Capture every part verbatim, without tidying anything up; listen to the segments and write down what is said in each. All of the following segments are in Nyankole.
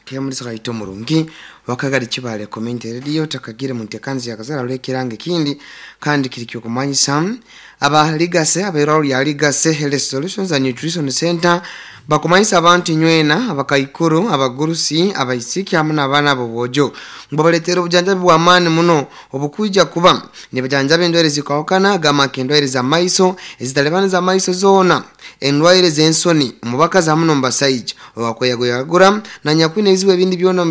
Kemulisa kaito murungi wakagari kibale community radio takagire muntekanzi yakazara lwekiranga kindi kandi kiri kyokumanyisa aba Legacy abairwaro lya Legacy Health Solutions and Nutrition Center bakumanyisa abantu nywena abakaikuru, abagurusi, abaisiki hamwe n'abaana bobojo ngo baletera obujanjabi bw'amaani muno obukuija kuba nibajanjaba endwaire zikahukana gamba nk'endwaire z'amaiso ezitalibani z'amaiso zoona, endwaire z'ensoni omubakazi hamwe n'omubasaija owakweyagoyagura na nyakwine ebizibu ebindi byona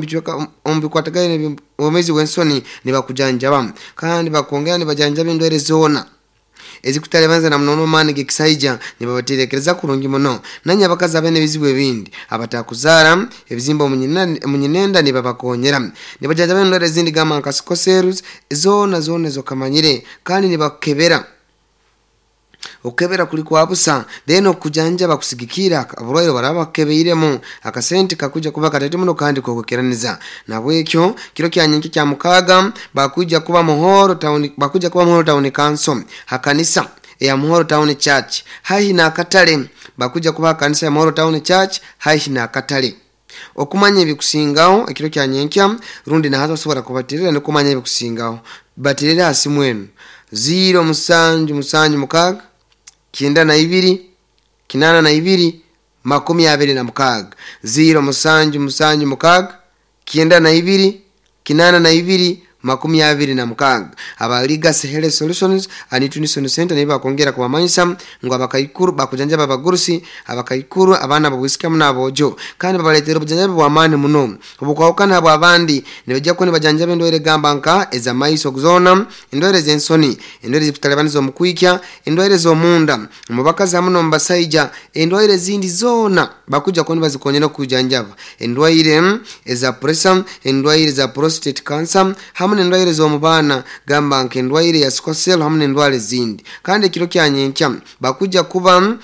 omu bikwatagaine obwomeezi bw'ensoni nibakujanjaba kandi bakongera nibajanjaba endwaire zoona ezikutalebanza na muno maani gekisaija nibabaterekereza kurungi muno. Nanye abakazi abene ebizibu ebindi abatakuzaara ebizimba omunyinenda nibabakonyera nibajanjaba endwaire ezindi gamba nka sickle zoona zoona ezokamanyire kandi nibakebera okukebera kuli kwa busa then okujanjaba kusigikira aburwaire baraba bakebeiremu akasente kakuja kuba katete muno kandi kokwekeraniza. Nabwekyo kiro kya nyenke kya mukaga bakuja kuba Muhoro Town, bakuja kuba Muhoro Town Council hakanisa ya Muhoro Town Church haihi na akatale, bakuja kuba kanisa ya Muhoro Town Church haihi na akatale. Okumanya ebikusingaho ekiro kya nyenkya rundi nahaza osobola kubatirira nokumanya ebikusingaho batirira hasi mwenu ziro musanju musanju mukaga kyenda na ibiri kinana na ibiri makumi abiri na mukaga ziro musanju musanju mukaga kyenda na ibiri kinana na ibiri makumi abiri na mukaga. Aba Legacy Health Solutions and Nutrition Center nibo bakongera kubamanyisa ngu abakaikuru bakujanjaba abagurusi, abakaikuru, abaana babwisikamu n'abojo kandi babaletera obujanjabi bw'amaani muno obukwahukana bw'abandi. Nibajja kuba nibajanjaba endwaire gamba nka ez'amaiso zoona, endwaire z'ensoni, endwaire zikutalibaniza omu kwikya, endwaire z'omunda omu bakazi hamwe n'omu basaija, endwaire ezindi zoona bakuja kuba nibazikonyera okujanjaba, endwaire eza pressure, endwaire za prostate cancer hamwe n'endwaire z'omu baana gamba nk'endwaire ya sickle cell hamwe n'endwara ezindi. Kandi ekiro kya nyenkya bakuja kuba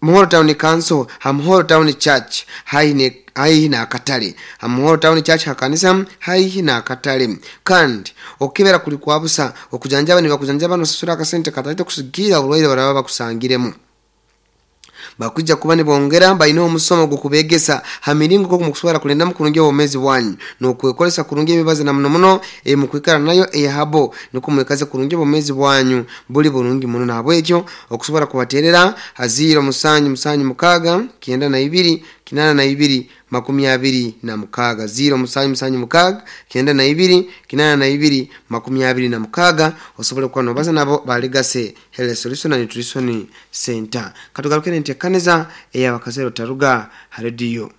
Muhoro Town Council ha Muhoro Town Church haihi haihi na akatale, ha Muhoro Town Church hakanisa haihi na akatale. Kandi okukebera kuli kwa busa, okujanjaba nibakujanjaba nosasura akasente kataito kusigira oburwaire baraba bakusangiremu. Bakuja kuba nibongera baine omusomo gw'okubegesa ha miringo nk'oku mukusobora kulindamu kurungi obwomeezi bwanyu n'okwekolesa kurungi emibazi na muno muno emukwikara nayo eyahabo nukwo mwekaze kurungi obwomeezi bwanyu buli burungi muno. Nahabwekyo okusobora kubaterera ha ziro musanju musanju mukaga kyenda na ibiri kinana na ibiri makumi abiri na mukaga ziro musanju musanju mukaga kyenda na ibiri kinana na ibiri makumi abiri na mukaga osobole kuba nobaza nabo ba Legacy Health Solution and Nutrition Center. Katugaruke nentekaneza ey'abakazero taruga ha rediyo.